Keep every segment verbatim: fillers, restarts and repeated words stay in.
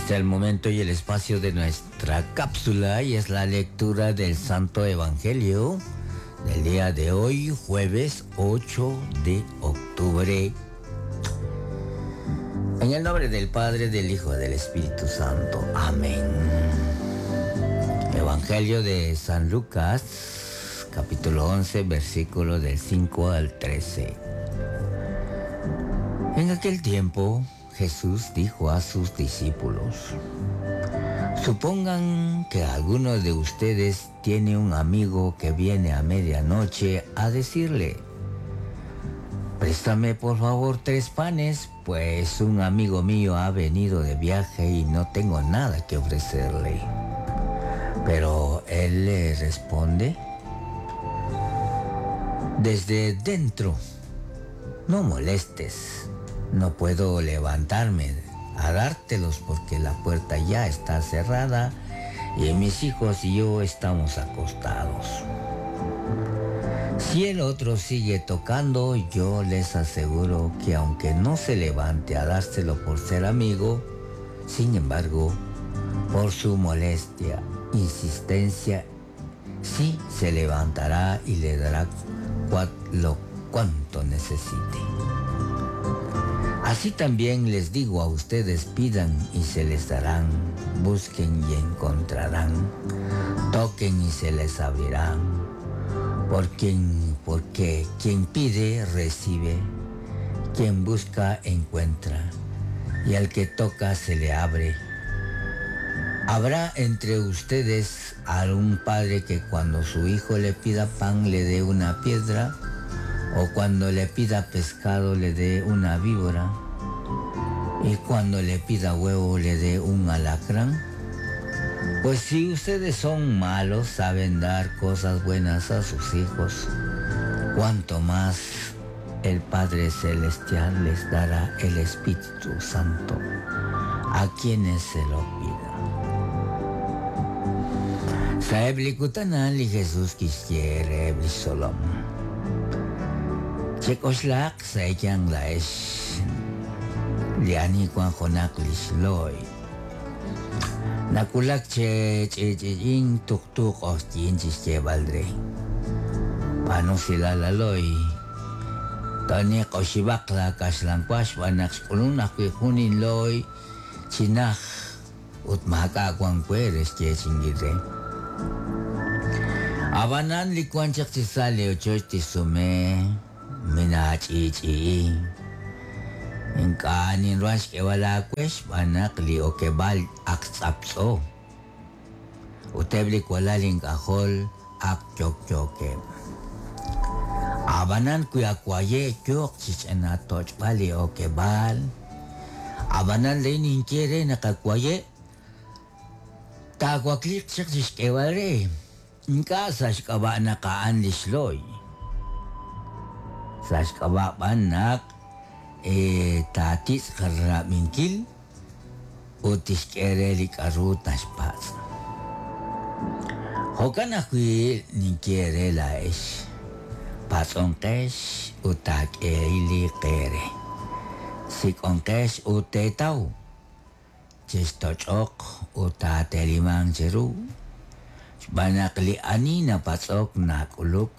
Este es el momento y el espacio de nuestra cápsula y es la lectura del Santo Evangelio del día de hoy, jueves ocho de octubre. En el nombre del Padre, del Hijo y del Espíritu Santo. Amén. Evangelio de San Lucas, capítulo once, versículo del cinco al trece. En aquel tiempo, Jesús dijo a sus discípulos: supongan que alguno de ustedes tiene un amigo que viene a medianoche a decirle: préstame por favor tres panes, pues un amigo mío ha venido de viaje y no tengo nada que ofrecerle. Pero él le responde: desde dentro, no molestes, no puedo levantarme a dártelos porque la puerta ya está cerrada y mis hijos y yo estamos acostados. Si el otro sigue tocando, yo les aseguro que aunque no se levante a dárselo por ser amigo, sin embargo, por su molestia, insistencia, sí se levantará y le dará cuat-, lo cuanto necesite. Así también les digo a ustedes: pidan y se les darán, busquen y encontrarán, toquen y se les abrirán. Por quien, porque quien pide, recibe, quien busca, encuentra, y al que toca, se le abre. ¿Habrá entre ustedes algún padre que cuando su hijo le pida pan le dé una piedra? ¿O cuando le pida pescado le dé una víbora? ¿Y cuando le pida huevo le dé un alacrán? Pues si ustedes son malos, saben dar cosas buenas a sus hijos, cuánto más el Padre Celestial les dará el Espíritu Santo a quienes se lo pidan. Saebli kutanal y Jesús quisiere solom. Chekoslak saekyang laesh liani kwan jonak lisloy. Nakulak che che che in tuk tuk ostin chiste baldre. Pano sila laloy. Tani koshibak la kaslang kwas wanak skulun akwi kunin loy chinach ut maka kwan kweres che chingire. Abanan likuan chak chisale ocho tisume minachi-chi. Inkanin ruas kewala kwes banak li okebal aktsapso. Utebli kwalaling kahol ak chok-choke. Abanan kuya kwaye chok chichena tochbali okebal. Abanan leinin quiere nakakwaye. Takwaklik chak chichkewale. Inka sashkaba nakaan lisloy. Sashkaba banak e tatis karaminkil utis kere li karutas paz. Hokan akui ninkere la es patzonkesh utak eili kere sikonkesh utetau chestochok utatelimang cheru banak li ani na patzok na kuluk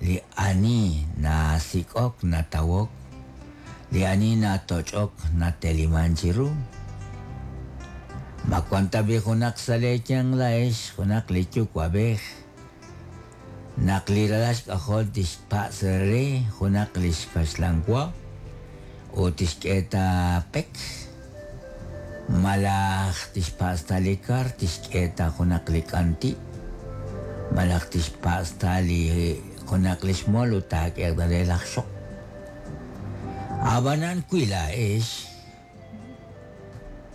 li ani na sikok na tawok li ani na tochok na teliman chiru. Makwanta bi hunak salekyang laesh hunak lichu kwabej nakliralash kahol tishpasere hunak lishkashlangwa o tishketa pek malach tishpastalikar tishketa hunak likanti malach tishpastali hunak lishmol utak erdarelach shok. Abanan kui laesh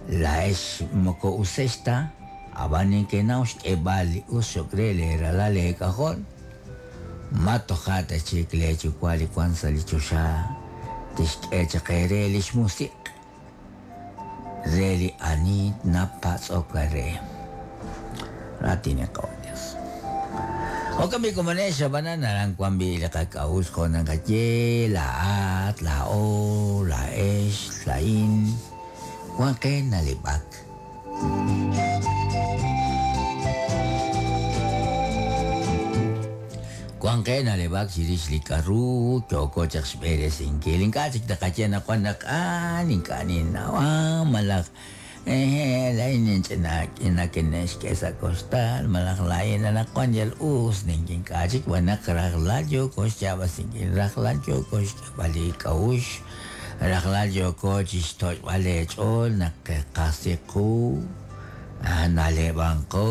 laesh moko usesta abanin kenaus ebali usokrele ralale kahol matohata chikle chukwali kwanza lichosha tishkechakere lishmusik reli ani napatzokare ratine kaonyas. Okami kumanesha banana lang kwambi lakakaus ko ng kaye, laat, lao, laesh, lain, kwangke nalibak. Wanqe naleb'ak chirix li k'aru yooko chaq xb'eresinkil ink'a' chik taqaye naq wan naq ah ink'a' ninnaw ah malaj eh laa'in ninch'ina nakine'xk'e sa' koxtal malaj laa'in anaqwan yal us nink'ink'a' chik wan naq rajlal yooko xyaab'asinkil rajlal yooko xk'eb'al li k'a'uxl rajlal yooko chixtoch'b'al eech'ool naq qasiqu naleb'anqo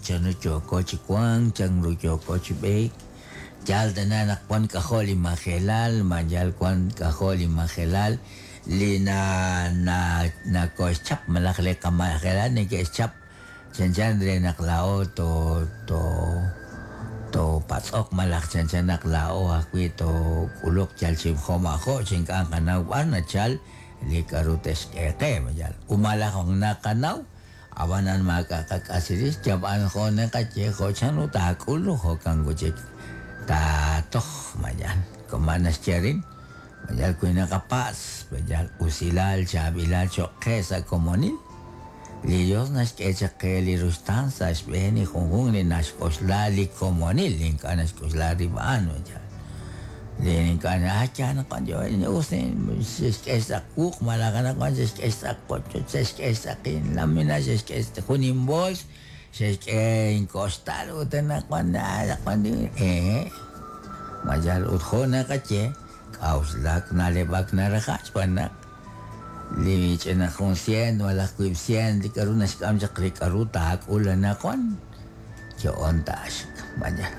chanru yooko chi wank chanru yooko chi b'eek yal tana naq wan k'ajo' li majelal ma yal wan k'ajo' li majelal li na na nakoxchap malaj li qamajelal neke'xchap chanchan re naq laa'o to to to patz'oq malaj chanchan naq laa'o ajwi' to k'uluq yal chi jo'ma'jo' chi ink'a' qanaw b'ar nachal li k'aru texk'e qe yal umalaj naqanaw ab'anan maak'a' qak'asirix yab'an jo' naqaye jo' chanru taak'ul jo'kan chik tatoj mayan koma naxyerin mayal wi naqapas mayal usilal chaab'ilal cho'q qe sa' komonil li Dios naxk'e chaq qe li ruxtaan sa' xb'een li junjunq li naxk'oxla li komonil li ink'a' naxk'oxla rib' a'an mayal li ink'a' ah ya naqwan yo us xe'xk'e sa' wuq malaj anaqwan xe'xk'e sa' qochoch xe'xk'e sa' qinlamina xe'xk'e jun inbols xe'xk'e inkoxtal ut anaqwan anaqwan eh mayal ut jo' naqaye k'a'uxlak naleb'ak narajach xb'aan naq li ch'ina jun cien malaj wiib' cien li k'aru naxk'am chaq li k'aru taak'ul anaqwan yo'on taaxik mayal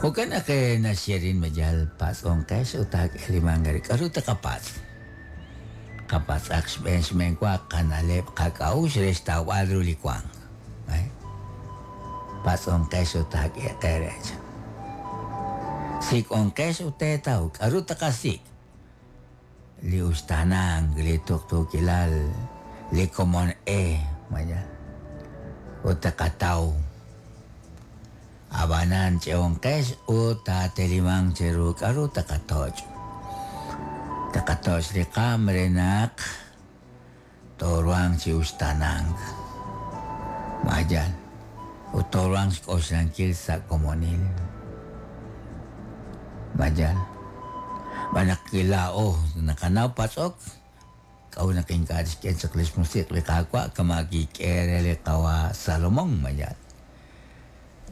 jo'kan naq naxyerin mayal patz'onqex ut taak'elimanq re k'aru taqapatz' qapatz'aq xb'een xb'een wa qana'leb' qak'a'uxl re xtawb'al ru li wank patz'onqex ut taak'e qe rech sik'onqex ut teetaw k'aru taqasik' li uxtaanank li tuqtuukilal li komon e mayal ut taqataw ab'anan ch'eonqex ut taatelimanq cheru k'aru taqatoch' taqatoch' li qaam re naq tooruhanq chi uxtaanank mayal ut tooruhanq xk'oxlankil sa' komonil mayal b'anaq laa'o naqanaw patz'ok k'aru naq ink'a' tixk'e chaq li xmusiq' li Qaawa' kama kik'e re li qawa Salomón mayal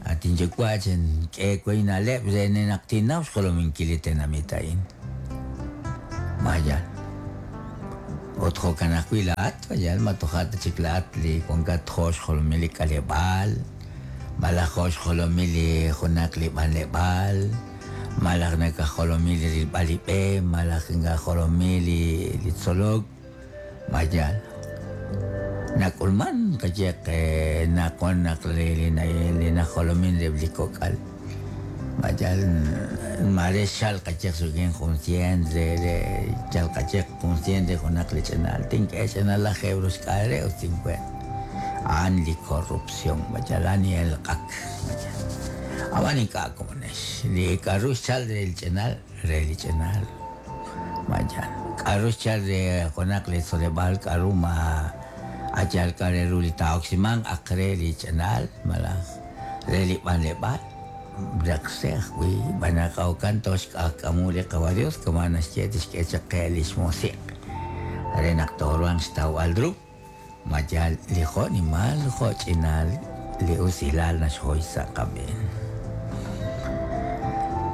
atin yuwa' chink'e we na'leb' re naq tinnaw xjolominkil li tenamit a'in mayal ut jo'kan ajwi' laa'at mayal ma toja' ta chik laa'at li wankat jo' xjolomil li k'aleb'aal malaj jo' xjolomil li junaq li b'anleb'aal malaj nakajolomil li rilb'al li b'e malaj nakajolomil li li tzolok mayal nak'ulman qayeq naqwan naq li li najolomin rib' li kok'al mayal mare xal qayeq sukin jun cien re re yal qayeq jun cien re junaq li ch'inal tink'e ch'inal laj euros k'al re ut cincuenta a'an li corrupción mayal a'an li elq'ak mayal ab'an ink'a' komonex li k'aru xchal re li ch'inal re li ch'inal mayal k'aru xchal re junaq li tzoleb'aal k'aru ma ayal k'a re ru li taa'oksimanq aq re li ch'inal malaj re li b'anleb'aal raqse ajwi' b'anaq awkan toxk'ajk'amu li qawa Dios kama naxye tixk'e chaq qe li xmusiq' re naq tooruhanq xtawb'al ru mayal li jo'nimal jo'ch'inal li usilal naxjoy sa' qab'een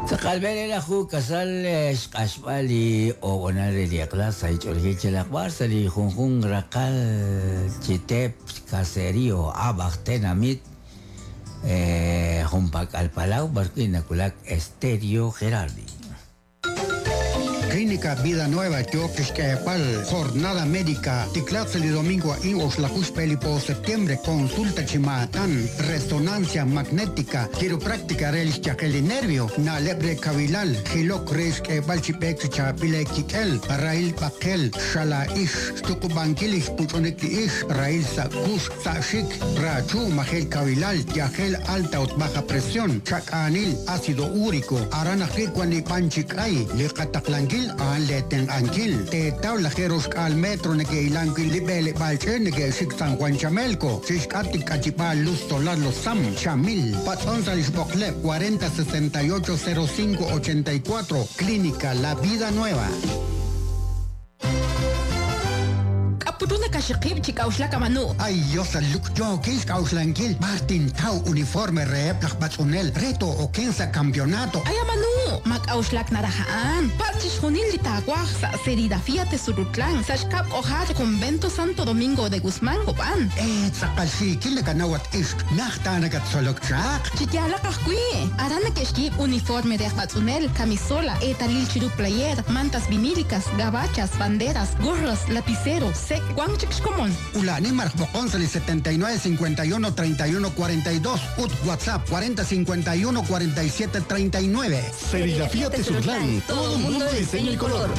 Tz'aqalb'el laju kasal xq'axb'al li ob'onal re li eq'la sa' ich'oolejil chelaqb'ar sa' li junjun raqal chitep caserío ab'aj tenamit eh, junpak'al Palau b'arwi' nakulak Estéreo Gerardi. Clínica Vida Nueva, Yoquexquepal, Jornada Médica, Ticlatzeli domingo in Oxlajuxpelipo septiembre, consulta chimatán, resonancia magnética, quiropráctica rel chakeli nervio, na lebre kavilal, Jilok Rex Balchipek Chapile Kikel, Rail Pakel, Shala Ish, Tukubankilis Puchoneki Ish, Rail Sakush, Sashik, Rachu, Majel Kavilal, Yajel alta o baja presión, Chakanil, ácido úrico, Arana Jikwani Panchikay, Liqataqlanki Xb'aanunkil a'an le tenq'ankil. Teetaw lajeeroxk'aal metro neke'ilanki li b'eleb'aal ch'e neke'xik San Juan Chamelco. Chixk'at k'achib'aal luz solar Los Sam, Chamil. Patz'on sa' lix b'oqleb' cuarenta sesenta y ocho cero cinco ochenta y cuatro. Clínica La Vida Nueva. Putuna kashiqib chik'awxlak amanu. Ay, Dios, luk yo kis k'awxlankil. Martin Tau uniforme reheb laj b'atz'unel reto okensa campeonato. Ay, amanu, mak'awxlak naraja'an. Par chixjunil li taawaj sa' serigrafía Tesurutlan, sa' xkab' k'ojar Convento Santo Domingo de Guzmán Copán. Eh, tz'aqal xiikil nakanawat ixq, najta nakatzolok chaq. Chiyalaq ajwi'. Aran nakexkib' uniforme de b'atz'unel, camisola, etalil chiru player, mantas vinílicas, gabachas, banderas, gorros, lapicero, sec, Juan Chixcomón. Ulani Marjbocón setenta y nueve cincuenta y uno treinta y uno cuarenta y dos, U T WhatsApp cuarenta cincuenta y uno cuarenta y siete treinta y nueve. Serigrafía Tezutlán, todo mundo de diseño y color.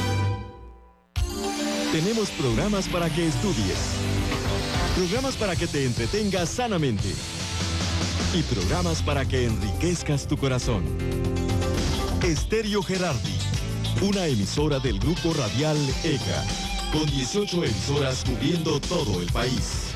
Tenemos programas para que estudies, programas para que te entretengas sanamente y programas para que enriquezcas tu corazón. Estéreo Gerardi, una emisora del Grupo Radial E C A, con dieciocho emisoras cubriendo todo el país.